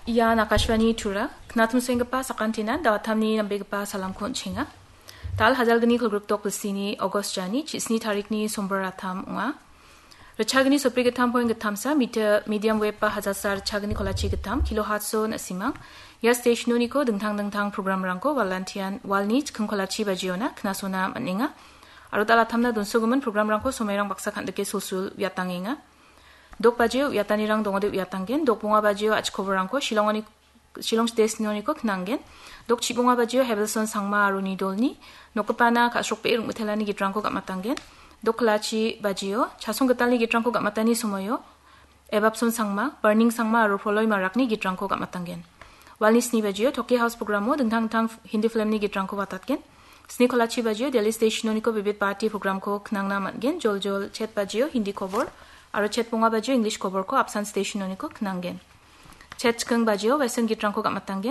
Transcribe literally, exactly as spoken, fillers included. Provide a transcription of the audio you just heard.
Ian Akashvani Tura, knatumsenggipa sakantinan dawatamni nambegipa salamko on·chenga. Dal hajalgni kolgrikdok bilsini August jani, chisni tarikni sombor atam ong·a. Richagni sopri gittam poin gittamsa, mita-, medium wave ba hajalsa richagni kolachi gittam, kilohertz-o na·simang. Ia stationoniko dingtang dingtang programrangko walantian walni chikking kolachi bajiona knasona man·enga. Aro dal atamna donsogimin programrangko somairang baksa kan·dike sulsul uiatangenga. Dok bajio uiatanirang dongode uiatanggen, dok bonga bajio achikoborangko Shillongoni, Shillong stationoniko knanggen. Dok chibonga bajio Hebelson Sangma aro nidolni nokgipana ka·srokbe ring·mitelani gitrangko gam·atanggen. Dok kalachi bajio Chasong Gitalni gitrangko gam·atani somoio Ebapson Sangma, Barning Sangma aro Proloi Marakni gitrangko gam·atanggen. Walni sni bajio Toki House programo dingtang dingtang Hindi filmni gitrangko watatgen. Sni kolachi bajio Delhi stationoniko bibit bati programko knangna man·gen, joljol chet bajio Hindi kobor aro chet bonga bajio English koborko apsan stationoniko knanggen. Chet chikking bajio Western gitrangko gam·atanggen.